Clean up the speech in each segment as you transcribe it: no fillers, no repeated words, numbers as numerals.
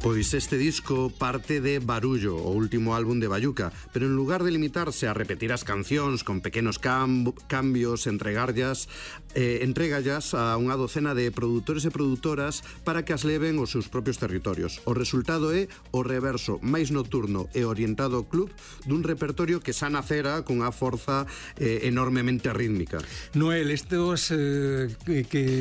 Pois este disco parte de Barullo, o último álbum de Bayuca, pero en lugar de limitarse a repetir as cancións con pequenos cambios, entregallas a unha docena de produtores e produtoras para que as leven aos seus propios territorios. O resultado é o reverso máis nocturno e orientado ao club dun repertorio que xa nacera cunha forza enormemente rítmica. Noel, estes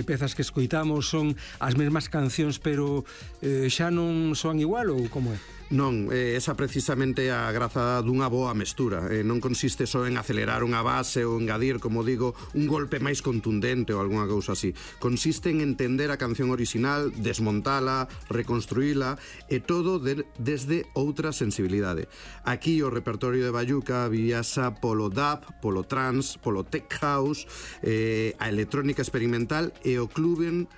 pezas que escoitamos son as mesmas cancións, pero xa non son igual ou como é? Non, esa precisamente a graza dunha boa mestura. Non consiste só en acelerar unha base ou engadir, como digo, un golpe máis contundente ou algunha cousa así. Consiste en entender a canción original, desmontala, reconstruíla e todo desde outra sensibilidade. Aquí o repertorio de Bayuca viaxa polo dub, polo trance, polo tech house, a electrónica experimental e o clubbing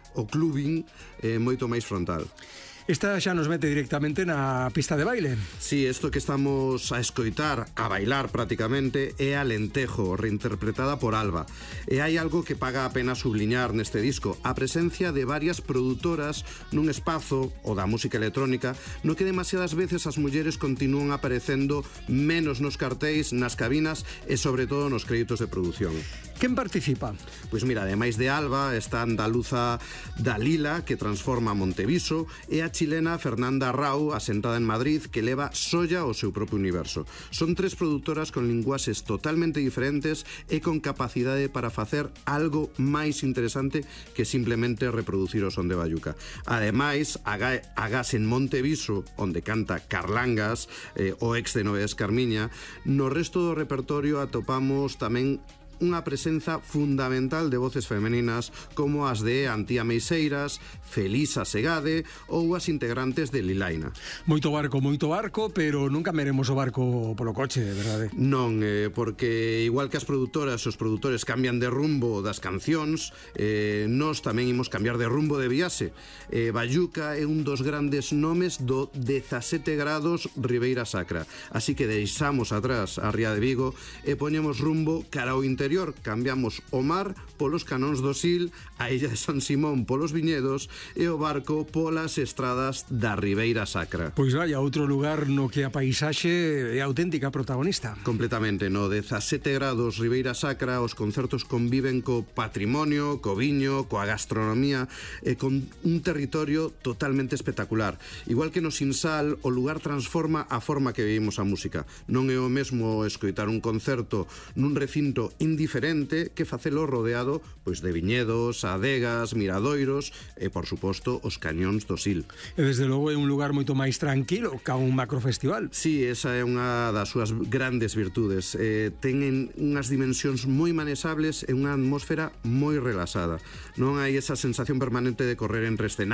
moito máis frontal. Esta xa nos mete directamente na pista de baile. Sí, isto que estamos a escoitar, a bailar prácticamente, é Alentejo, reinterpretada por Alba. E hai algo que paga a pena subliñar neste disco, a presencia de varias produtoras nun espazo, o da música electrónica, no que demasiadas veces as mulleres continúan aparecendo menos nos cartéis, nas cabinas e sobre todo nos créditos de produción. Quen participa? Pois mira, ademais de Alba, está a andaluza Dalila, que transforma Monteviso, e a chilena Fernanda Rau, asentada en Madrid, que leva Solla ao seu propio universo. Son tres produtoras con linguaxes totalmente diferentes e con capacidade para facer algo máis interesante que simplemente reproducir o son de Bayuca. Ademais, agás en Monteviso, onde canta Carlangas, o ex de Novedades Carmiña, no resto do repertorio atopamos tamén unha presenza fundamental de voces femeninas como as de Antía Meixeiras, Felisa Segade ou as integrantes de Lilaina. Moito barco, pero nunca veremos o barco polo coche, verdade? Non, porque igual que as produtoras e os produtores cambian de rumbo das cancións, nós tamén imos cambiar de rumbo de viaxe. Bayuca é un dos grandes nomes do 17 grados Ribeira Sacra, así que deixamos atrás a Ría de Vigo e poñemos rumbo cara ao interior. Cambiamos o mar polos canóns do Sil, a illa de San Simón polos viñedos e o barco polas estradas da Ribeira Sacra. Pois vai a outro lugar no que a paisaxe é auténtica protagonista. Completamente, no 17 grados Ribeira Sacra os concertos conviven co patrimonio, co viño, coa gastronomía e con un territorio totalmente espectacular. Igual que no Sinsal, o lugar transforma a forma que vivimos a música. Non é o mesmo escoitar un concerto nun recinto indiferente que facelo rodeado pois de viñedos, adegas, miradoiros e, por suposto, os cañóns do Sil. E, desde logo, é un lugar moito máis tranquilo ca un macrofestival. Sí, esa é unha das súas grandes virtudes. Ten unhas dimensións moi manesables e unha atmósfera moi relaxada. Non hai esa sensación permanente de correr entre escenarios